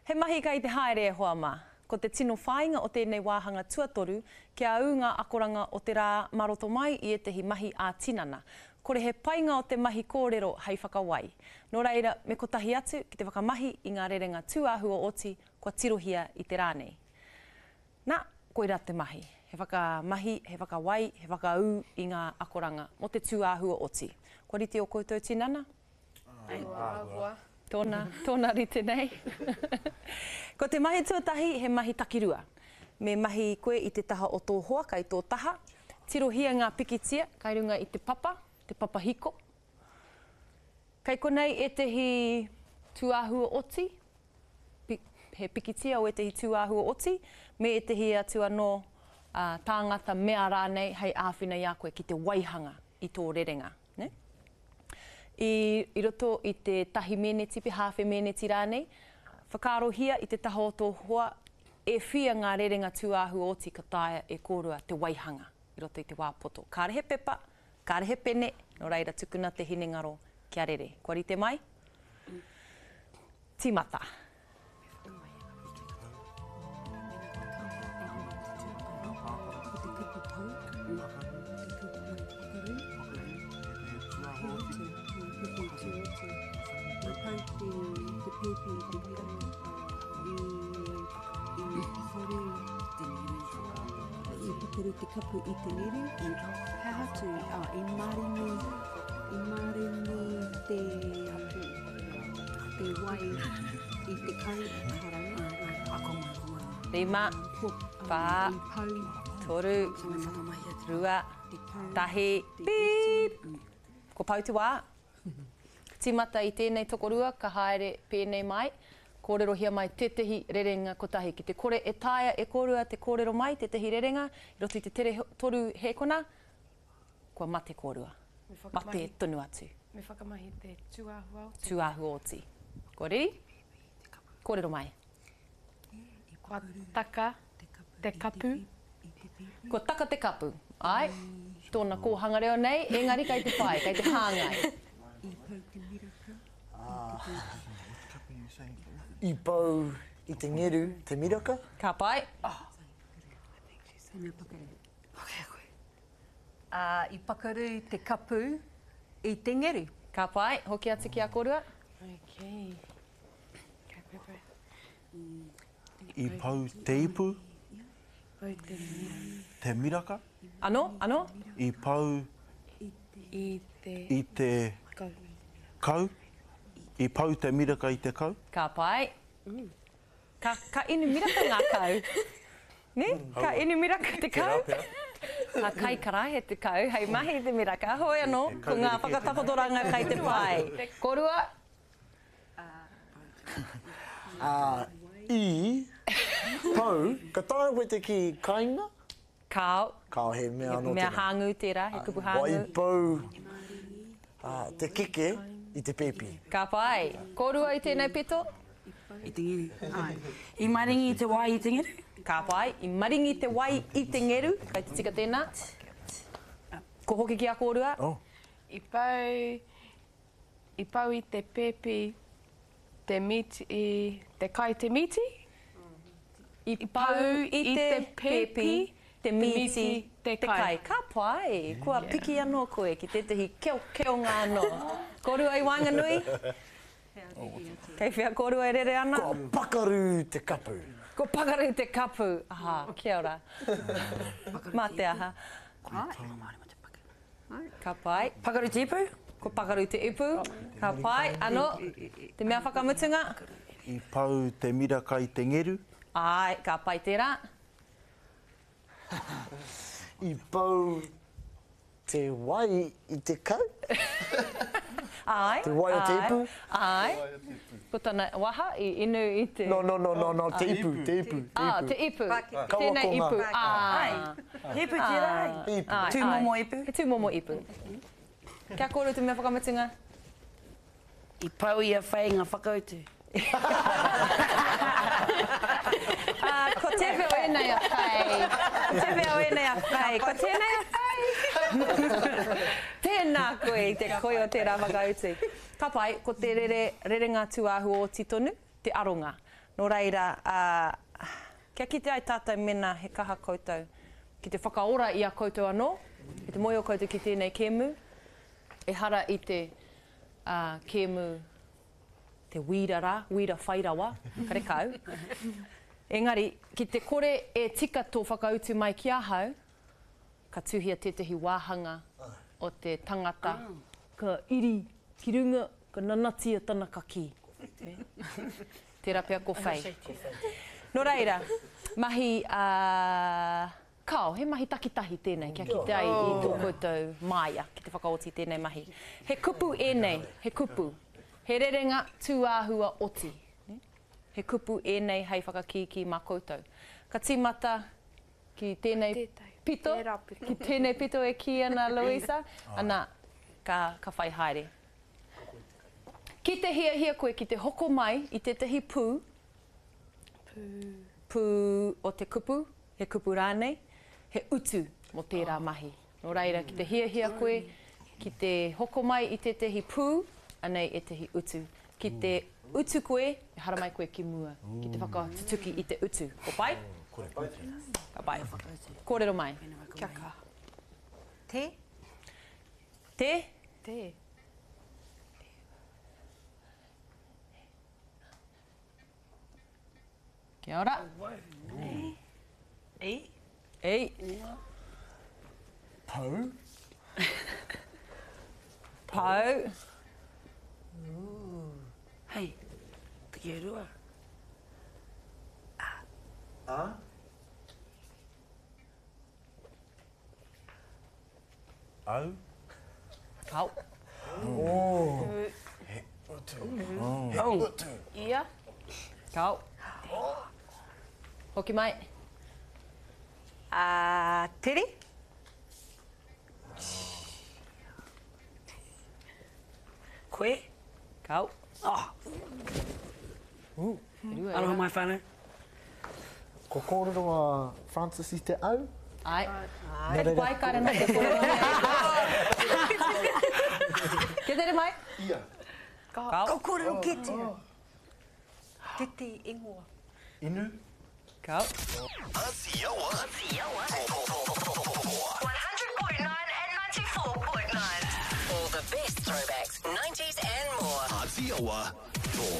He mahi kei te haere e hoa mā. Ko te tino whāinga o tēnei wāhanga tuatoru kia ū ngā akoranga o te rā mā roto mai i ētahi mahi ā-tinana. Kore he painga o te mahi kōrero hei whakawai. Nō reira, me kotahi atu ki te whakamahi i ngā rerenga tūāhua oti kua tirohia i te rā nei. Nā, koirā te mahi. He whakamahi, he whakawai, he whakaū i ngā akoranga mō te tūāhua oti. Kua rite ō koutou tinana? Āhua. Tōna, tōna rite nei. Ko te mahi tuatahi, he mahi takirua. Me mahi koe i te taha o tō hoa kai tō taha. Tirohia ngā pikitia kai runga i te papa, te papa hiko. Kei konei ētahi tūāhua oti, he pikitia o ētahi tūāhua oti, me ētahi atu anō tāngata, mea rānei hei āwhina i a koe ki te waihanga i tō rerenga. Nē? I, i roto i te tahi mēneti, pe hāwhe mēneti rānei, whakaarohia i te taha o tō hoa e whia ngā rerenga tūāhua oti ka taea e kōrua te waihanga i roto i te wā poto. Kāre he pepa, kāre he pene, nō reira tukuna te hinengaro kia rere. Kua rite mai? Tīmata. Te kapu i te ngere, he aha atu, ah, i maringi, i maringi te Te wai i te kau Rima, whā, toru, rua, tahi, pīp! Kua pau te wā. Tīmata i tēnei tokorua ka haere pēnei mai, kōrerohia mai tētehi rerenga kotahi. Ki te kore e taea e kōrua te kōrero mai tētehi rerenga i roto i te tere toru hēkona, Kua mate kōrua. Mate tonu atu. Me whakamahi te tūāhua oti. Tūāhua oti. Kua reri? Kōrero mai. Kua taka te kapu. Kua taka te kapu. Āe, tōna kōhanga reo nei, engari kei te pai, kei te hāngai. I pau i te ngeru te miraka. Ka pai. Ā, i pakaru te kapu i te ngeru. Ka pai, hoki atu ki a korua. Okay. Ka pai. I pau te ipu. Te miraka. Anō, anō. I pau. I te. I te. Kau. Kau. I pau te miraka i te kau. Ka pai. Ka, ka inu miraka ngā kau. Nē? Ka inu miraka te kau. Ka kai karaehe te kau hei mahi i te miraka. Hoi anō, ko ngā whakatakotoranga kai te pai. Korua. Ā, i, pau, ka taea koe te kī kainga? Kāo. Kāo, he mea anō tērā. He mea hāngū tērā, he kupu hāngū. Waipou te keke i te pēpi. Ka pai. Kōrua i tēnei pito? I te ngeru. Āe. I maringi te wai i te ngeru. Ka pai. I maringi te wai i te ngeru. Kei te tika tēnā. Ko hoki ki a kōrua. I pau, i pau i te pēpi te mīti, te kai te mīti? I pau i te pēpi te mīti te kai. Ka pai! Kua piki anō koe ki tētahi keokeonga anō. Kōrua i waenganui? Kei whea kōrua e rere ana? Kua pakaru te kapu. Kua pakaru te kapu. Aha, kia ora. Mā te aha. Ka pai. Pakaru te ipu. Kua pakaru te ipu. Ka pai. Ano, te mea whakamutunga. I pau te miraka i te ngeru. Āe, ka pai tērā. I pau te wai i te kau. Āe. Te wai o te ipu. Āe. Ko tana waha i inu i te. No, no, no, no, no, te ipu, te ipu, te ipu. Ah, te ipu. Tēnei ipu. Āe. He ipu tērā, ai? Ipu. Tūmomo ipu. He tūmomo ipu. Kia kōrero te mea whakamutunga. I pau i a Faye ngā whakautu. Ko tēwhea o ēnei a Faye? Ko tēwhea o ēnei a Faye? Ko tēnei a Faye? Tēnā koe i te koi o tērā whakautu. Ka pai, ko te rere, rerenga tūāhua oti tonu, te aronga. Nō reira, ā, kia kite ai tātou mēnā he kaha koutou ki te whakaora i a koutou anō, ki te mōhio koutou ki tēnei kēmu, ehara i te, ā, kēmu te wīra rā, wīra whai rawa, karekau. Engari, ki te kore e tika tō whakautu mai ki ahau, ka tuhia tētahi wāhanga o te tangata, ka iri ki runga, ka nanatia tana kakī. Tērā pea ko Faye. Nō reira, mahi a Kao, he mahi takitahi tēnei kia kite ai i tō koutou māia ki te whakaoti i tēnei mahi. He kupu ēnei, he kupu. He rerenga tūāhua oti. He kupu ēnei hei whakakīkī mā koutou. Ka tīmata ki tēnei pito, ki tēnei pito e kī ana Louisa, ana, ka, ka whai haere. Ki te hiahia koe ki te hoko mai i tētahi pū, pū o te kupu, he kupu rānei, he utu mō tērā mahi. Nō reira, ki te hiahia koe ki te hoko mai i tētahi pū, anei ētahi utu. Ki te utu koe, e haramai koe ki mua, ki te whakatutuki i te utu. Ko pai? Ka pai. Kōrero mai. Kia kaha. Te? Te? Te. Kia ora. E. E. Pau. Pau. Hei, takirua. A. A. Au. Au. Oh. He utu. He utu. Ia. Kau. Hoki mai. A, tere. Koe. Kau. Oh. Aroha mai whanau. Ko kōrero a Francis i te au. Ae. Kei te pai, kāre anō te kōrero nei. Kia tere mai. Ia. Kao. Ko kōrero kē tērā. Tētehi ingoa. Inu. Kao.